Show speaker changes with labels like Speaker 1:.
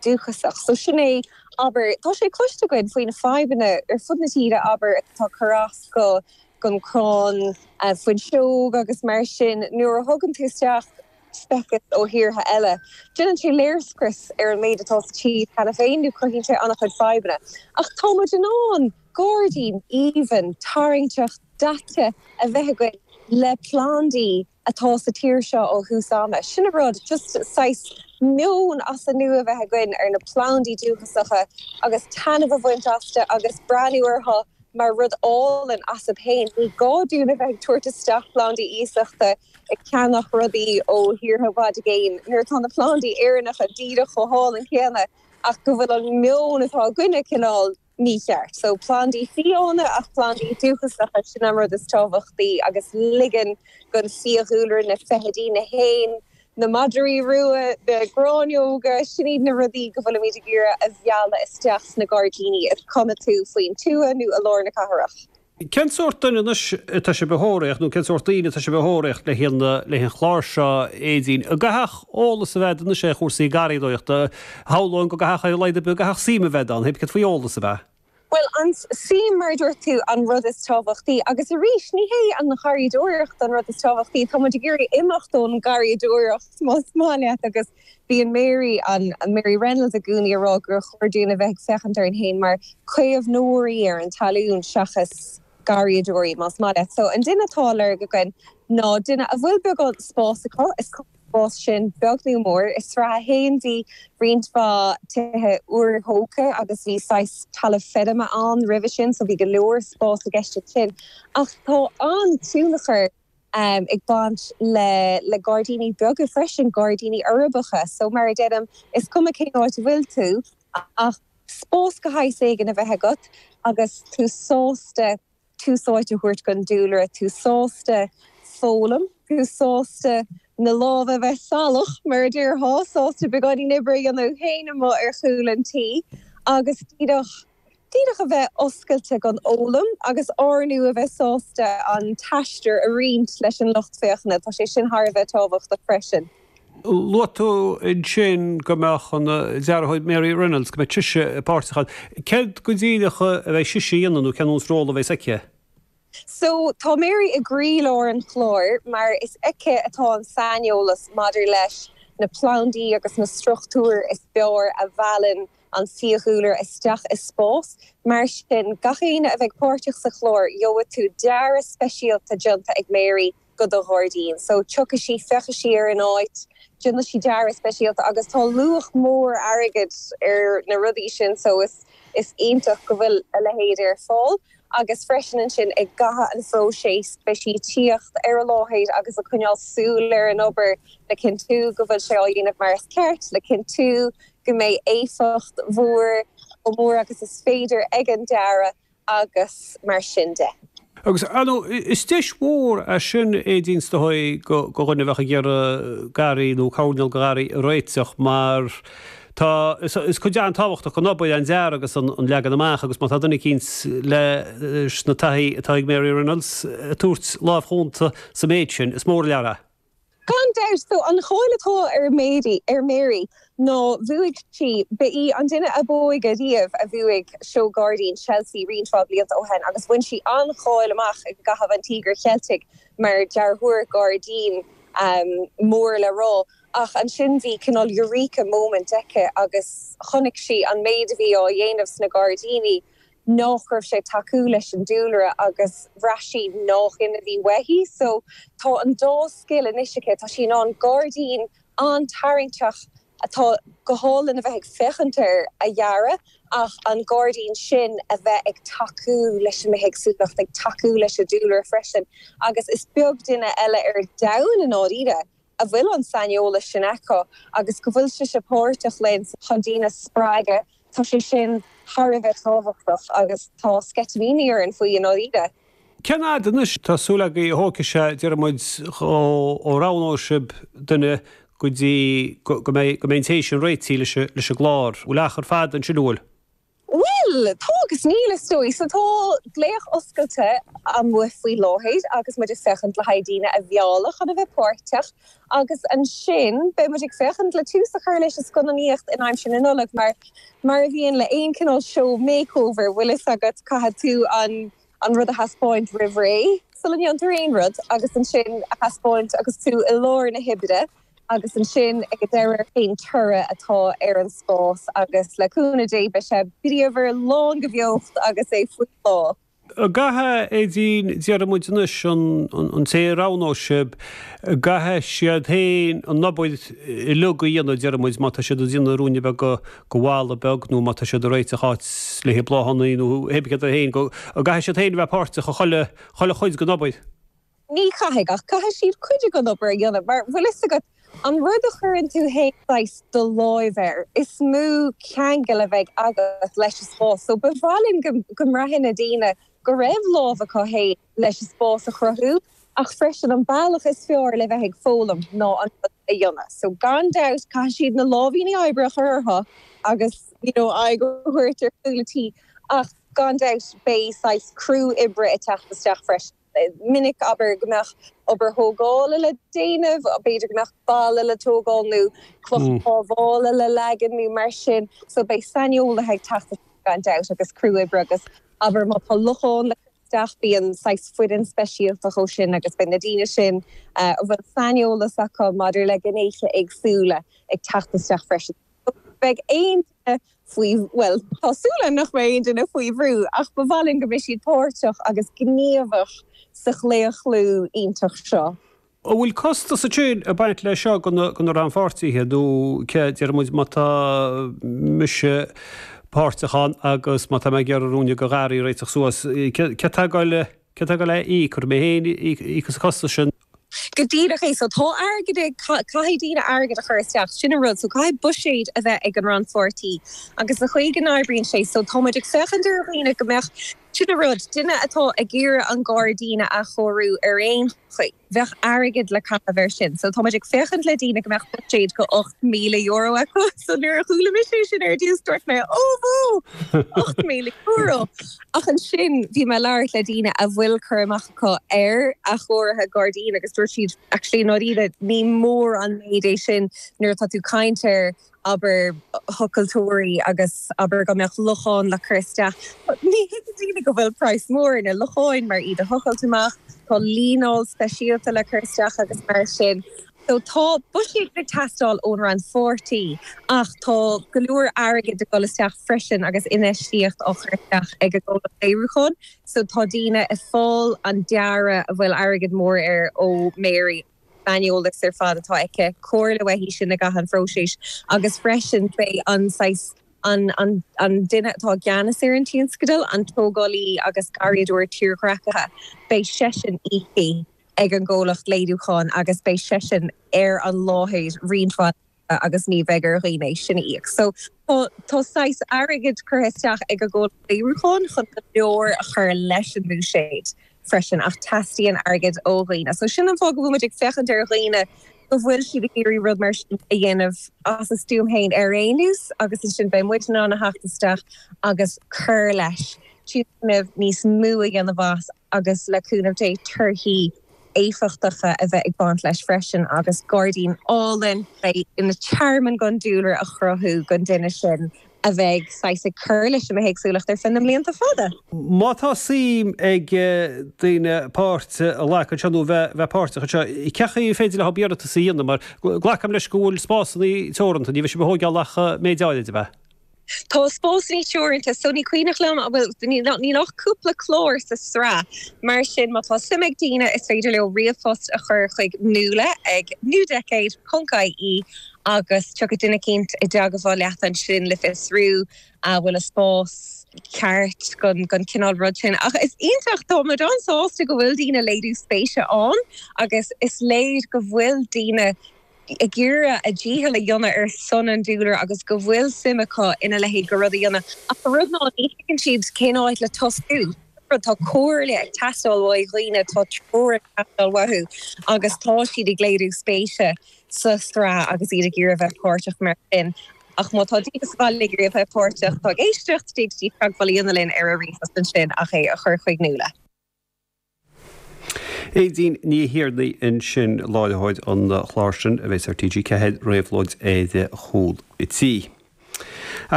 Speaker 1: Dúchasach. So sin é, abair, tá sé cloiste againn faoi na fadhbanna ar fud na tíre, abair, atá ag cur as go gon crann fuinseog agus mar sin, nuair a thugann tú isteach speiceas ó thíortha eile, déanann sé léirscrios ar an méid atá sa tír cheana féin nó cruthaíonn sé an-chuid fadhbanna. Ach tá muid in ann gairdín aoibhinn, tarraingteach, daite a bheith againn le plandaí atá sa tír seo ó thús ama. Sin an rud, just saghas meon as an nua a bheith againn ar na plandaí dúchasacha agus taitneamh a bhaint astu agus breathnú orthu mar rud álainn astu féin. Ní gá dúinn a bheith ag tabhairt isteach plandaí iasachta, ag ceannach rudaí ó thíortha i bhfad i gcéin nuair atá na plandaí Éireannacha díreach chomh hálainn céanna ach go bhfuil an meon atá againne cineál mícheart. So plandaí fiáine ach plandaí dúchasacha, sin an rud is tábhachtaí agus ligean don fiadhúlra, na feithidí, na héin, na madraí rua, na gráinneoga, sin iad na rudaí go bhfuilimid ag iarraidh a mhealladh isteach sna gairdíní, is cuma tú faoin tuath nó i lár na cathrach.
Speaker 2: Cén sórt duine anois atá sibh a thóraíocht, nó cén sórt daoine atá sibh a thóraíocht le haghaidh an chláir seo, Aedín? An gcaithfeadh eolas a bheith anois ar chúrsaí garraíodóireachta? Shamhlóinn go gcaithfeadh ar a laghad ar bith, go gcaithfeadh suim a bheith ann, céard faoi eolas a bheith?
Speaker 1: Bhuel, an suim, mar a dúirt tú, an rud is tábhachtaí. Agus arís, ní hé an gharraíodóireacht an rud is tábhachtaí, tá muid ag iarraidh imeacht ón ngarraíodóireacht, más maith leat, agus Bíonn Mary, an Mary Reynolds i gcónaí ag rá gur chóir dúinn a bheith ag féachaint orainn féin mar caomhnóirí ar an talún seachas garraíodóirí, más maith leat. So an duine atá á lorg againn ná duine a bhfuil beagán spáis acu, is cuma an spás sin beag nó mór. I Sraith 1 bhí roinnt mhaith tithe úrthógtha agus bhí saghas talamh feirme ann roimhe sin so bhí go leor spáis i gceist ansin. Ach tá an-tionchar ag baint le le gairdíní beaga freisin, gairdíní uirbeacha. So mar a deirim, is cuma cén áit a bhfuil tú ach spás de shaghas éigin a bheith agat agus tú sásta tús áite a thabhairt don dúlra, tú sásta foghlaim, tú sásta na lámha a bheith salach, mar a déarfá, sásta beagáinín oibre a dhéanamh féin amuigh ar chúl an tí agus díreach Díreach a bheith oscailte don fhoghlaim agus ár ndóigh a bheith sásta an t-aistear a roinnt leis an lucht féachana, tá sé sin thar a bheith tábhachtach freisin.
Speaker 2: Luaigh tú ansin go mbeadh an dearthóir Mary Reynolds, go mbeidh sise páirteach ann. Céard go díreach a bheidh sise a dhéanamh nó cén ról a bheas aici?
Speaker 1: So, tá Mary i gcroílár an chláir mar is aici atá an saineolas maidir leis na plandaí agus na struchtúir is fearr a mheallann an fiadhúlra isteach i spás. Mar sin, gach éinne a bheidh páirteach sa chlár, gheobhaidh tú dearadh speisialta déanta ag Mary go do ghairdín. So, tiocfaidh sí, féachfaidh sí ar an áit, déanfaidh sí dearadh speisialta agus tá luach mór airgid ar na rudaí sin so is is iontach go bhfuil a leithéid ar fáil. Agus freisin ansin i gcaitheamh an phróisis beidh sí ag tíocht ar an láthair agus ag coinneáil súil ar an obair le cinntiú go bhfuil sé á dhéanamh mar is ceart, le cinntiú go mbeidh éifeacht mhór, chomh mór agus is féidir ag an dearadh agus mar sin de.
Speaker 2: Agus, ar ndóigh, is deis mhór é sin, Aedín, is dóigh, do dhuine a bheadh ag iarraidh garraí nó coirnéal de gharraí a réiteach mar tá, is cuid an-tábhachtach den obair an dearadh agus an leagan amach agus má tá duine eicínt leis na taithí atá ag Mary Reynolds ag tabhairt lámh chúnta sa méid sin, is mór an lear é.
Speaker 1: Gan dabht, so an cháil atá ar Mary, ar Mary ná bhuaigh sí, ba í an duine ab óige riamh a bhuaigh Seó Gairdín Chelsea roinnt mhaith blianta ó shin agus bhain sí an-cháil amach i gcaitheamh an Tíogair Cheiltigh mar dearthóir gairdín mór le rá. Ach ansin bhí cineál eureka moment aici agus chonaic sí an méid a bhí á dhéanamh sna gairdíní nách raibh sé ag tacú leis an dúlra agus bhraith sí nách in a bhí uaithi. So tá an dá scil anois aici, tá sí in ann gairdín an-tarraingteach atá go hálainn a bheith ag féachaint air a dhearadh ach an gairdín sin a bheith ag tacú leis an mbithéagsúlacht, ag tacú leis an dúlra freisin agus is beag duine eile ar domhan i ndáiríre a bhfuil an saineolas sin acu agus go bhfuil sise páirteach linn chun daoine a spreagadh, tá sé sin thar a bheith tábhachtach agus tá sceitimíní orainn faoi i ndáiríre.
Speaker 2: Cén fhad anois tá súil agaibh a thógfaidh sé, déarfaidh muid, ó roghnóidh sibh duine go dtí go mbeidh an té sin réitithe leis an gclár? Bhfuil achar fada ansin, an bhfuil?
Speaker 1: Bhuel! Bhuel, tá agus níl, is dóigh. So tá glaoch oscailte amuigh faoi láthair agus muid ag féachaint le haghaidh daoine a mhealladh chun a bheith páirteach agus ansin beidh muid ag féachaint le tús a chur leis an scannánaíocht in aimsir na Nollag mar, mar a bhíonn le aon cineál seó makeover, bhfuil fhios agat, caithfidh tú an an rud a thaispeáint roimh ré sula ndéantar aon rud agus ansin a thaispeáint agus tú i lár na hoibre. agus ansin ag an deireadh cén toradh atá ar an spás agus le cúnamh Dé beidh sé bríomhar, lán de bheocht agus é faoi bhláth.
Speaker 2: An gcaithfidh, Aedín, déarfaidh muid anois, an té a roghnóidh sibh, an gcaithfidh siad féin an obair uilig a dhéanamh, déarfaidh muid, má tá siad ag déanamh ruainne beag de bhalla beag nó má tá siad ag réiteach áit le haghaidh bláthanna nó pé ar bith céard é féin, an gcaithfidh siad féin a bheith páirteach i chuile, chuile chuid den obair?
Speaker 1: Ní chaithfidh, ach caithfidh siad cuid den obair a dhéanamh, mar bhfuil fhios agat, an rud a chuireann tú fhéin saghas do láimh air, is mó ceangal a bheidh agat leis an spás. So ba mhaith linn go go mbraithfidh na daoine go raibh lámh acu fhéin leis an spás a chruthú, ach freisin an bealach is fearr le bheith ag foghlaim ná an rud a dhéanamh. So gan dabht caithfidh siad na láimhíní oibre a chur orthu agus you know aghaidh a thabhairt ar chúl an tí, ach gan dabht beidh saghas criú oibre ag teacht isteach freisin. minic, abair, go mbeadh obair thógála le déanamh, b'fhéidir go mbeadh balla le tógáil nó cloch phábhála le leagan nó mar sin. So beidh saineolaithe ag teacht isteach gan dabht agus criú oibre agus abair má tá lochán le cur isteach bíonn saghas foireann speisialta dhó sin agus beidh na daoine sin a bhfuil saineolas acu maidir le gnéithe éagsúla ag teacht isteach freisin. Beidh aon duine faoi, bhuel, tá súil agam nach mbeidh aon duine faoi bhrú, ach ba mhaith linn go mbeidh siad páirteach agus gníomhach sa chlaochlú iontach seo.
Speaker 2: An bhfuil costas ansin ag baint leis seo do na rannpháirtithe nó cé, deir muid, má tá mise páirteach ann agus má tá mé ag iarraidh ruainne de gharraí a réiteach suas, cé atá ag dul, cé atá ag dul é a íoc, an mé féin a íocfas an costas sin?
Speaker 1: Go díreach é. So tá airgead ag, caithfidh daoine airgead a chur isteach, sin an rud. So caithfidh buiséad a bheith ag an rannpháirtí agus an chaoi go n-oibríonn sé, so tá muid ag féachaint ar dhaoine go mbeadh, sin an rud, duine atá ag iarraidh an gairdín a athchóiriú ar aon chaoi, bheadh airgead le caitheamh air sin. So tá muid ag féachaint le daoine go mbeadh buiséad go €8,000 acu. So nuair a chuala mise é sin ar dtús dúirt mé, ó bhó! €8,000! Ach ansin bhí mé ag labhairt le daoine a bhfuil cur amach acu ar athchóirithe gairdín agus dúirt siad actually i ndáiríre ní mór an méid é sin nuair atá tú ag caint ar abair thochaltóirí agus abair go mbeadh lochán le cur isteach. Ní thuigeann daoine go bhfuil praghas mór ar na locháin mar iad a thochailt amach, tá líneáil speisialta le cur isteach agus mar sin. So tá buiséad ag teastáil ón rannpháirtí ach tá go leor airgid ag dul isteach freisin agus infheistíocht á chur isteach ag an gcomhlacht léiriúcháin. So tá daoine ag fáil an dearadh a bhfuil airgead mór air ó Mary, saineolas ar fad atá aici, comhairle uaithi sin i gcaitheamh an phróisis agus freisin beidh an saghas an an duine atá i gceannas ar an tionscadal, an tógálaí agus garraíodóir tírdhreachaithe, beidh seisean íoctha. ag an gcomhlacht léiriúcháin agus beidh seisean ar an láthair roinnt mhaith agus ní bheidh ar dhaoine é sin a íoc. So tá tá saghas airgid curtha isteach ag an gcomhlacht léiriúcháin chun go leor a chur leis an mbuiséad freisin ach teastaíonn airgead ó dhaoine. So sin an fáth go bhfuil muid ag féachaint ar dhaoine go bhfuil siad ag iarraidh rud mar sin a dhéanamh as a stuaim féin ar aon nós agus ansin beidh muid in ann a theacht isteach agus cur leis, tionscnamh níos mó a dhéanamh as. agus le cúnamh Dé torthaí éifeachtacha a bheith ag baint leis freisin agus gairdín álainn ina tearmann don dúlra a chruthú don duine sin a bheidh saghas ag cur leis an mbithéagsúlacht ar feadh na mblianta fada.
Speaker 2: Má tá suim ag daoine páirt a ghlacadh anseo nó bheith páirteach anseo, cén chaoi ar féidir leo iarratas a dhéanamh? Mar glacaim leis go bhfuil spásanna teoranta, ní bheidh sibh ag thóigeáil ach méid áirid, ab ea?
Speaker 1: Tá spásanna teoranta so ní cuimhneach liom an bhfuil, níl ach cúpla clár sa sraith, mar sin má tá suim ag daoine is féidir leo ríomhphost a chur chuig Nuala ag newdecade ponc ie agus tiocfaidh duine eicínt i dteagmháil leat ansin le fiosrú an bhfuil an spás ceart don don cineál rud sin. Ach is iontach, tá muid an-sásta go bhfuil daoine ag léiriú spéise ann agus is léir go bhfuil daoine ag iarraidh a dícheall a dhéanamh ar son an dúlra agus go bhfuil suim acu ina leithéid de rud a dhéanamh. Ach an rud ná ní thuigeann siad cén áit le tosú. Tá comhairle ag teastáil uaidh dhaoine, tá treoir ag teastáil uathu agus tá siad ag léiriú spéise sa tsraith agus iad ag iarraidh a bheith páirteach mar sin. Ach má tá daoine sa bhaile ag iarraidh a bheith páirteach, atá ag éisteacht, d'fhéadfaidís teagmháil a dhéanamh linn ar an ríomhphost ansin ach é a chur chuig Nuala.
Speaker 2: Aedín Ní Thiarnaigh ansin, láithreoir an chláir sin a bheas ar TG4, Réabhlóid ar Chúl an Tí.